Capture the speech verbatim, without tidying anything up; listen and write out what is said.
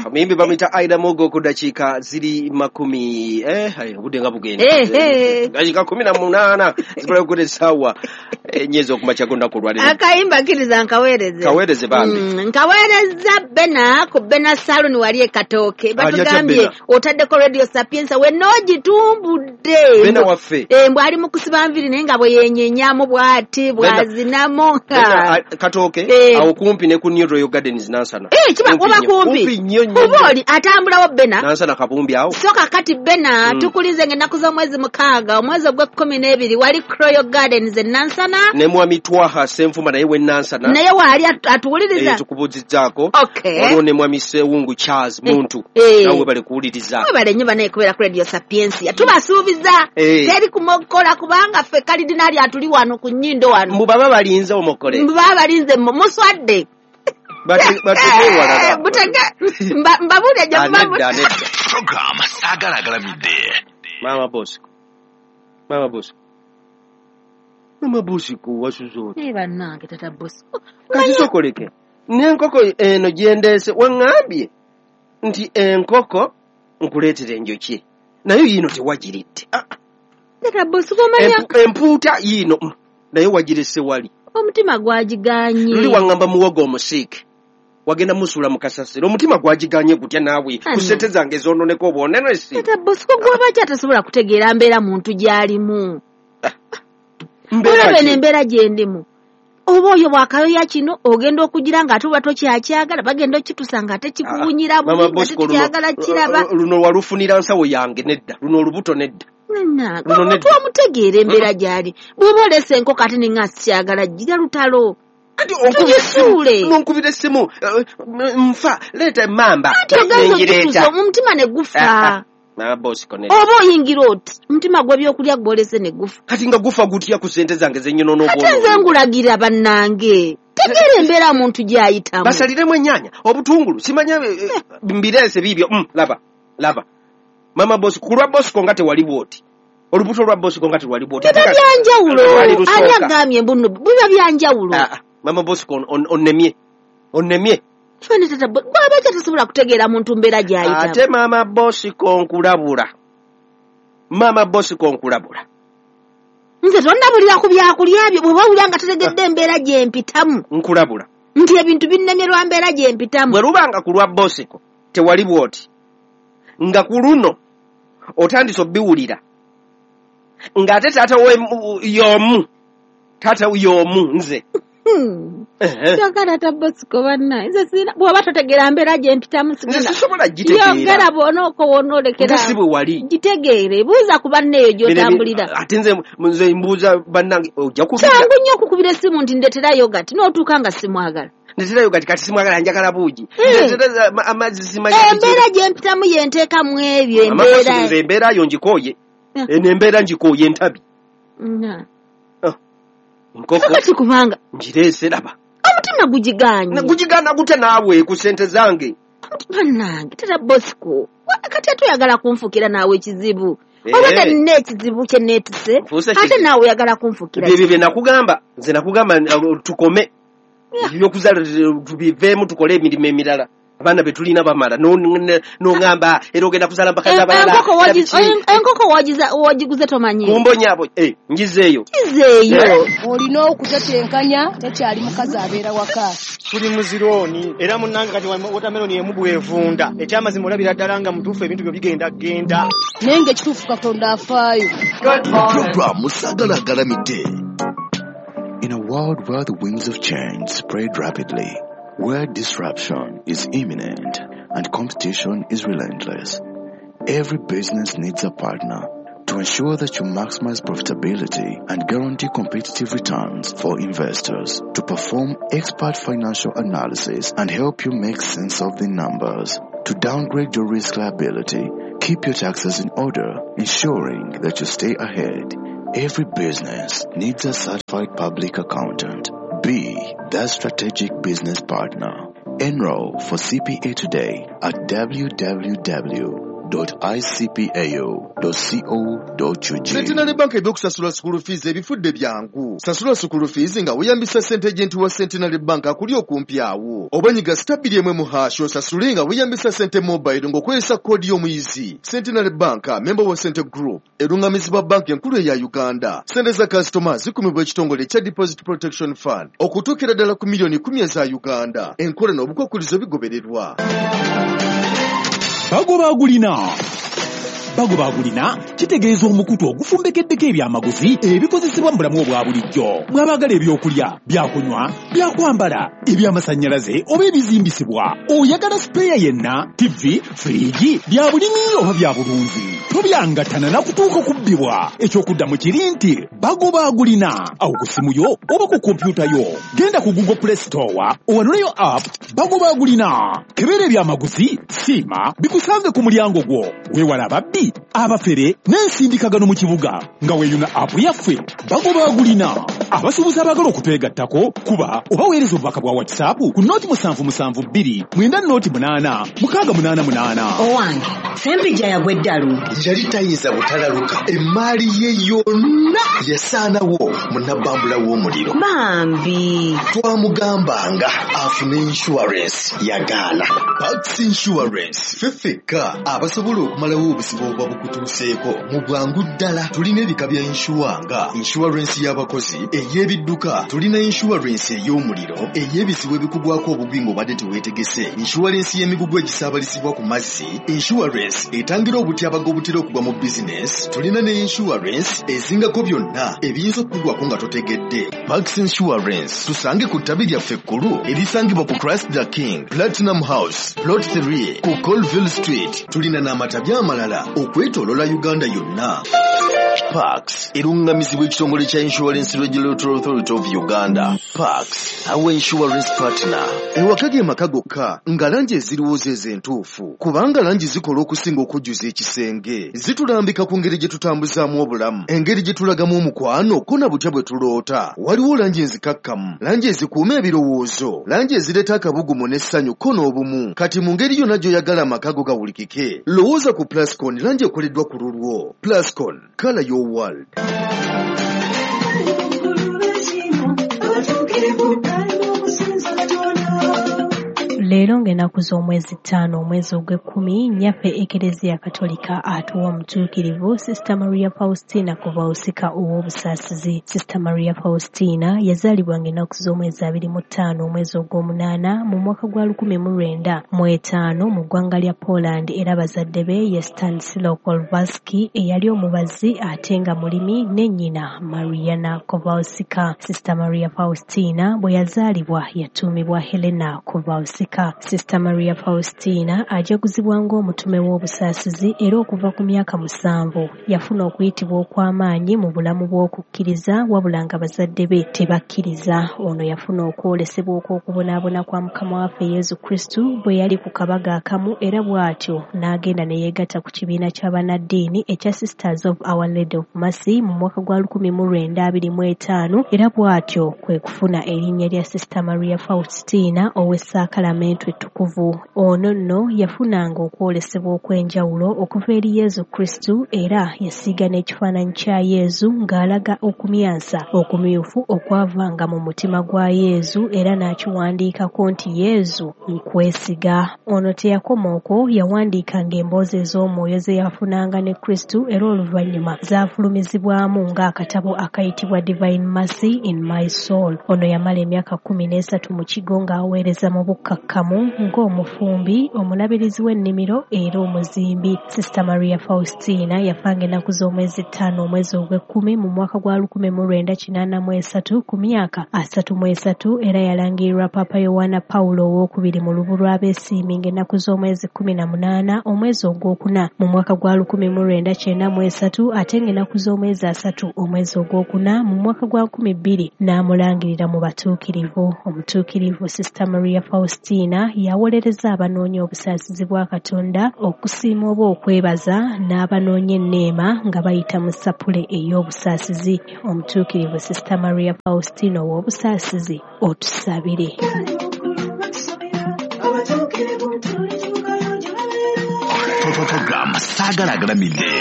Omuyimbi bamuyita Aida Mogo ku dakiika ziri makumi eh obudde nga bugenda. Eh, eh. Dakiika kumi na munaana zibula okukola essaawa ennyezi okumakya g'olunaku olwaleero. Akayimba kkiriza nkaweereze. Kaweereze bambi. Mm, nkaweereza Bena ku Bena Salon wali e Katooke. Batugambye otaddeko Radio Sapienza wenna ogitumbudde. Bena waffe. Eh, mbw ali mu kusiba nviiri naye nga bwe yenyenyamu bw'ati bw'azinamu. Bena Katooke eh. awo kumpi ne ku New Royal Gardens Nansana. Eh, kiba oba kumpi. Kumpi nnyo nnyo. Oba oli atambulawo Bena. Nansana Kabumbi awo. So kakati Bena mm. tukulize ng'ennaku z'omwezi mukaaga omwezi ogw'ekkumi n'ebiri wali Royal Gardens e Nansana. Ne mwami Twaha Ssenfuma naye w'e Nansana. Naye waali atuwuliriza. Eh, tukubuuzizzaako. Okay. Waliwo ne mwami Ssewungu Charles Muntu. Eh. Nawe webale kuwuliriza. Webale nnyo banaye kubeera ku Radio Sapientia. Tubasuubiza. Eh. Teri kumokola kubanga ffe kalidinaali atuli wano ku nnyindo wano. Mbu baba balinze omokole. Mbu baba balinze muswadde. Bate butege mbabuulire gye muba. Program Saagala Agalamidde. Mama Bosco. Mama Bosco. Mama Bosco wasuze otya? Naye bannange tata Bosco. Kati sokoleke. N'enkoko eno gye ndeese waŋŋambye nti enkoko nkuleetera enjoki. Naye yiino tewagiridde. Tata Bosco omanya empuuta yiino naye wagirese wali. Omutima gwagiganye. Luli waŋŋamba muwogo omusiike. Wagenda musuula mu kasasiro. Omutima gwagiganye gutya naawe ku ssente zange zoononeka obwonenesi. Tata Bosco gw'oba ki atasobola kutegeera mbeera muntu gy'alimu. Olaba eno embeera gye ndimu. Oba oyo bw'akayoya kino ogenda okugira ng'ate oba tokyakyagala bagenda okitusa ng'ate kikuwunyira bubi nga tetukyagala kiraba. Luno walufunira nsawo yange nedda. Luno olubuto nedda. Omuntu omutegeera embeera gy'ali. Bw'oba oleese enkoko ate ne nga sikyagala gira lutalo. Tugisuule. Nonkubira essimu nfa leeta emmamba. Anti ogenza okitusa omutima ne gufa. Mama Bosco nedda. Oba oyingira oti omutima gw'ebyokulya gw'olese ne gufa. Kati nga gufa gutya ku ssente zange zennyonoono obwono. Ate nze ngulagira bannange. Tegeera embeera muntu gy'ayitamu. Basaliremu ennyaanya, obutungulu, simanya mbireese biibyo. Laba, laba. Mama Bosco, ku lwa Bosco nga tewali bw'oti. Olubuto lwa Bosco nga tewali bw'oti. Biba byanjawulo. Ani agambye mbu nno biba byanjawulo. Mama Bosco onnemye. Onnemye. Fene tata bw'aba tasobola kutegeera muntu mbeera gy'ayitamu. Ate Mama Bosco nkulabula. Mama Bosco nkulabula. Nze tonnabulira ku byakulya byo bw'oba owulira nga totegedde embeera gye mpitamu. Nkulabula. Nti ebintu binnemye lwa mbeera gye mpitamu. Bwe lubanga ku lwa Bosco tewali bw'oti. Nga ku luno otandise obbiwulira. Ng'ate taata we y'omu. Taata y'omu nze. Yogera tata Bosco bannange. Nze sirina bw'oba totegeera mbeera gye mpitamu sigenda. Nze sisobola gitegeera. Yogera bw'onookowa onoolekera. Nze si bwe wali. Gitegeere. Buuza ku banne eyo gy'otambulira. Ate nze nze mbuuza bannange ojja kubira. Kyangu nnyo okukubira essimu nti ndeetera yogati n'otuuka nga simwagala. Ndeetera yogati kati simwagala njagala buugi. Ndeetera amazzi simanyi. Embeera gye mpitamu ye nteekamu ebyo embeera. Nze embeera yo ngikooye. Eno embeera ngikooye entabi. Nkoko kati kubanga ngireese laba. Omutima gugiganye. Gugigaana gutya naawe ku ssente zange. Bannange tata Bosco kati ate oyagala kunfukira naawe ekizibu. Obadde nina ekizibu kye neetise ate naawe oyagala kunfukira. Ebyo bye nakugamba nze nakugamba tukome. Ebyokuzaala tubiveemu tukole emirimu emirala. Abaana be tulina bamala n'oŋŋamba era ogenda kuzaala mpaka z'abalala. Enkoko wagiguze tomanyi. Kumbonyaabo ngizeeyo. Ngizeeyo. Olina okutetenkanya tekyali mukazi abeera waka. Tuli muzirooni era munnange kati watermelon emu bw'evunda. Ekyamazima olabira ddala nga mutuufu ebintu byo bigenda genda. Naye ng'ekituufu Katonda afaayo. Program Saagala Agalamidde. In a world where the winds of change spread rapidly, where disruption is imminent and competition is relentless, every business needs a partner to ensure that you maximize profitability and guarantee competitive returns for investors, to perform expert financial analysis and help you make sense of the numbers, to downgrade your risk liability, keep your taxes in order, ensuring that you stay ahead. Every business needs a certified public accountant. Be that strategic business partner. Enroll for C P A today at w w w dot i c p a o dot c o dot u g. Centenary Bank ebyokusasula school fees ebifudde byangu. Sasula school fees nga weeyambisa ssente agent wa Centenary Bank akuli okumpi awo. Oba nyiga star bbiri emu hash osasule nga weeyambisa ssente mobile ng'okozesa koodi y'omuyizi. Centenary Bank, member wa Cente Group, erungamizibwa banki enkulu eya Uganda. Ssente za kasitoma zikumibwa ekitongole ekya Deposit Protection Fund okutuukira ddala ku miliyoni kumi eza Uganda. Enkola n'obukwakkulizo bigobererwa. Bagoba agulina. Bagoba agulina kitegeeza omukutu ogufumbekeddeko ebyamaguzi ebikozesebwa mu bulamu obwa bulijjo. Mw'abaagala ebyokulya, byakunywa, byakwambala, ebyamasannyalaze oba ebizimbisibwa. Oyagala sipeeya yenna, T V, firiigi, bya bulimi oba bya bulunzi. Tobyangatana na kutuuka kubbibwa. Ekyokuddamu kiri nti Bagoba agulina. Awo ku ssimu yo oba ku kompyuta yo. Genda ku Google Play Store owanuleyo app Bagoba agulina. Kebera ebyamaguzi, siima, bikusange ku mulyango gwo. Weewala ababbi, abafere n'ensindikagano mu kibuga nga weeyuna app yaffe Bagoba agulina. Abasuubuzi abaagala okutwegattako kuba oba weereza obubaka bwa WhatsApp ku nooti musanvu musanvu bbiri mwenda nooti munaana mukaaga munaana munaana. Owange Ssempijja yagwa eddalu. Yali tayinza butalaluka, emmaali ye yonna yasaanawo mu nabbambula w'omuliro. Bambi twamugambanga afune insurance yagaana. Pax Insurance ffe ffekka abasobola okumalawo obuzibu obuba bukutuuseeko mu bwangu ddala. Tulina ebika bya inshuwa nga insurance y'abakozi, ey'ebidduka, tulina insurance ey'omuliro, ey'ebizibu ebikugwako obugwi ng'obadde teweetegese, insurance y'emigugu egisaabalizibwa ku mazzi, insurance etangira obutyabaga obutera okugwa mu bizinesi, tulina ne insurance ezingako byonna ebiyinza okukugwako nga totegedde. Pax Insurance tusange ku ttabi lyaffe ekkulu erisangibwa ku Christ the King Platinum House Plot three ku Colville Street. Tulina n'amatabi amalala okwetooloola Uganda yonna. Pax erungamizibwa ekitongole kya Insurance Regulatory Authority of Uganda. Pax, our insurance partner. Ewaka ge maka gokka nga langi eziriwo ze entuufu, kubanga langi zikola okusinga okujjuza ekisenge. Zitulambika ku ngeri gye tutambuzaamu obulamu, engeri gye tulagamu omukwano ko na butya bwe tuloota. Waliwo langi enzikakkamu, langi ezikuuma ebirowoozo, langi ezireeta akabugumu n'essanyu ko n'obumu. Kati mu ngeri yonna gy'oyagala amaka go gawulikike, lowooza ku Plascon, langi ekoleddwa ku lulwo. Plascon, color your world. Leero ng'ennaku z'omwezi ttaano omwezi ogw'ekkumi nnyaffe Ekereziya Katolika atuwa omutuukirivu Sister Maria Faustina Kowalska ow'obusaasizi. Sister Maria Faustina yazaalibwa ng'ennaku z'omwezi abiri mu ttaano omwezi ogw'omunaana mu mwaka gwa lukumi mu lwenda mu etaano mu ggwanga lya Poland, era bazadde be ye Stanislaw Kowalski eyali omubazi ate nga mulimi ne nnyina Mariana Kowalska. Sister Maria Faustina bwe yazaalibwa yatuumibwa Helena Kowalska. Sister Maria Faustina ajaguzibwa ng'omutume w'obusaasizi era okuva ku myaka musanvu yafuna okuyitibwa okw'amaanyi mu bulamu bw'okukkiriza, wabula nga bazadde be tebakkiriza. Ono yafuna okwolesebwa okw'okubonaabona kwa Mukama waffe Yesu Kristo bwe yali ku kabaga akamu, era bw'atyo n'agenda ne yeegatta ku kibiina ky'abannaddiini ekya Sisters of Our Lady of Mercy mu mwaka gwa lukumi mu lwenda abiri mu etaano, era bw'atyo kwe kufuna erinnya lya Sister Maria Faustina ow'essaakalamentu ettukuvu. Ono nno yafunanga okwolesebwa okw'enjawulo okuva eri Yesu Kristo, era yasiiga n'ekifaananyi kya Yesu ng'alaga okumyansa okumyufu okwavanga mu mutima gwa Yesu, era n'akiwandiikako nti Yesu nkwesiga. Ono teyakoma okwo, yawandiikanga emboozi ez'omwoyo ze yafunanga ne Kristo, era oluvannyuma zaafulumizibwamu ng'akatabo akayitibwa Divine Mercy in My Soul. Ono yamala emyaka kkumi n'esatu mu kigo ng'aweereza mu bukkakkamu ng'omufumbi, omulabirizi w'ennimiro era omuzimbi. Sister Maria Faustina yafanga ennaku z'omwezi ttaano omwezi ogw'ekkumi mu mwaka gwa lukumi mu lwenda kinaana mu esatu ku myaka asatu mu esatu, era yalangirirwa Papa Yowana Pawulo owookubiri mu lubu lw'abeesiimi ng'ennaku z'omwezi kkumi na munaana omwezi ogwokuna mu mwaka gwa lukumi mu lwenda kyenda mu esatu, ate ng'ennaku z'omwezi asatu omwezi ogwokuna mu mwaka gwa nkumi bbiri n'amulangirira mu batuukirivu. Omutuukirivu Sister Maria Faustina yawolereza abanoonya obusaasizi bwa Katonda, okusiima oba okwebaza, n'abanoonya enneema nga bayita mu ssapule ey'obusaasizi. Omutuukirivu Sister Maria Faustina ow'obusaasizi, otusabire. Program Saagala Agalamidde.